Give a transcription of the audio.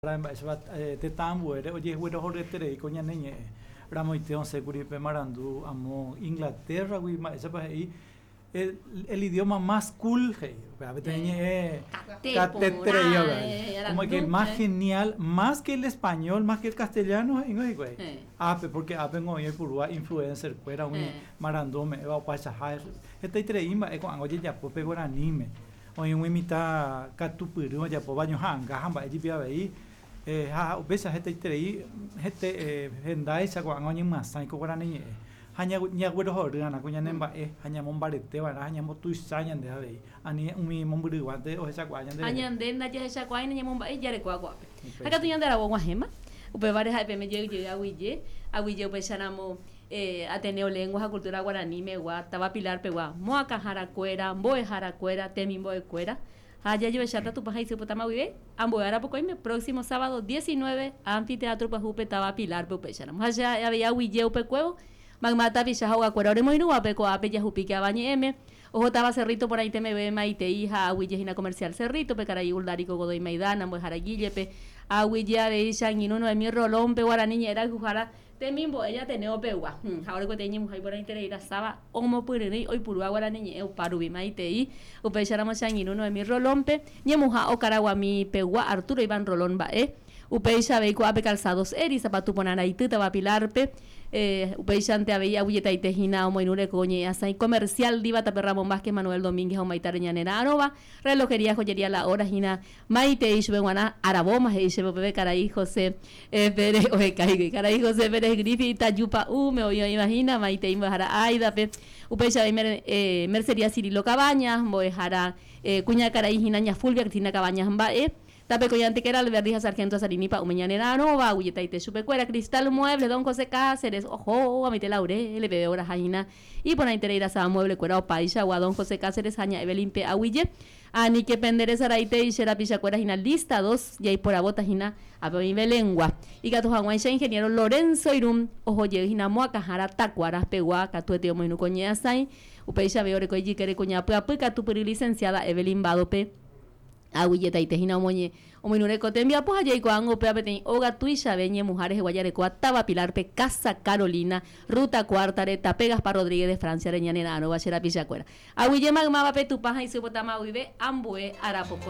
Mba'éichapa tetã ambuére ojeguerohoryeterei ko ñane ñe'ẽ. Ramoite osẽkuri pe marandu amo Inglaterra-gui mba'éichapa he'i el idioma más cool he'i, upéva peteĩ ñe'ẽ kateterei como que el más genial, más que el español, más que el castellano he'íngo hikuái. Ápe, porque ápengo oĩ oipurúva influencer-kuéra umi marandu ome'ẽva opaichaha hetaiterei mba'e ko'ág̃a ojejapo pe guaraníme. Oĩ umi mitã katupyry ojapóva ñoha'ãnga ha mba'e jepi avei, ha upéicha hetaiterei hete hendáicha ko'ág̃a oñemyasãi ko guarani ñe'ẽ. Ha ñaguerohory'arã ko ñane mba'e ha ñamombareteva'erã ha ñambotuicha ñande avei, ani umi mombyryguánte ohechakuaa ñande Ha rehe. ñande ndajahechakuaái nañamomba'éi jarekóva ko'ápe. Ha katu ñande aravo og̃uahẽma, upévare ha'e peẽme jey jey aguyje, aguyje upéicharamo Ateneo Lengua ha Cultura Guarani megua, táva Pilar pegua, moakãharakuéra, mbo'eharakuéra, temimbo'ekuéra, ha jajoecháta Tupã ha Isy Potama guive, ambue ára pokõime, próximo sábado 19, Anfiteatro Pyahúpe táva Pilar-pe upéicharamo. Ha che avei aguije upekuévo, mayma tapicha ha ogakuéra oremoirũvape ko'ápe jahupíke avañe'ẽme, oho táva Cerrito porãite meve maitei ha aguije hína Comercial Cerrito-pe, karai Uldarico Godoy Maidana, mbo'ehára Guille-pe, aguije avei che angirũ Noemí Rolón-pe, guarani ñe'ẽ rayhuhára, Temimbo'e Ateneo pegua, ha ore kuete ñemuha iporãiterei rasáva omopyryrỹi oipurúva guarani ñe'ẽ opárupi maitei, upéicharamo che angirũ Noemí Rolón-pe, ñemuha Okaraguami pegua Arturo Iván Rolón mba'e, upéicha avei ko'ápe Calzados Eri, sapatu porã raity táva Pilar-pe, upéichante avei aguyjetaite hína omoirũ reko ñe'ẽ asãi comercial Diva tape Ramón Vázquez Manuel Domínguez ha omaitare ñane ra'arõva, relojería joyería La Hora hína maitei chupe g̃uarã aravóma he'i chéve upépe karai José Pérez oheka hikuái. Karai José Pérez Griffith itaju pa'ũme oĩ oĩva hína, maitei mbo'ehára Aida-pe. Upéicha avei Mercería Cirilo Cabañas, mbo'ehára kuñakarai hína ña Fulvia Cristina Cabañas mba'e. Tape Koyantekera, Alberdi ha Sargento Azarini pa'ũme ñane ra'arõva, aguyjetaite chupekuéra. Cristal Muebles, Don José Cáceres, oho, amaite Laurel peve oraha hína iporãiterei rasáva mueble-kuéra opaichagua, Don José Cáceres ha ña Evelyn-pe aguyje. Aníke pende resaraitei che rapichakuéra hína lista dos jaiporavóta hína ápe oĩ Belengua. Ikatu haguãicha ingeniero Lorenzo Irún oho jey hína moakãhára Takuara pegua katuete omoirũ ko ñe'ãsãi. Upéicha avei oreko ijykére kuña pyapy katupyry licenciada Evelyn Bado-pe. Aguyjetaite hína omoñe omoirũ reko tembiapo ha jaikuaángo upéva peteĩ óga tuichave ñemuha rehegua jarekóva táva Pilar-pe Casa Carolina, Ruta Cuarta-re, tape Gaspar Rodríguez de Francia-re ñane ra'arõva che rapichakuéra. Aguyje maymávape Tupã ha isy potáma guive ambue arapokõi.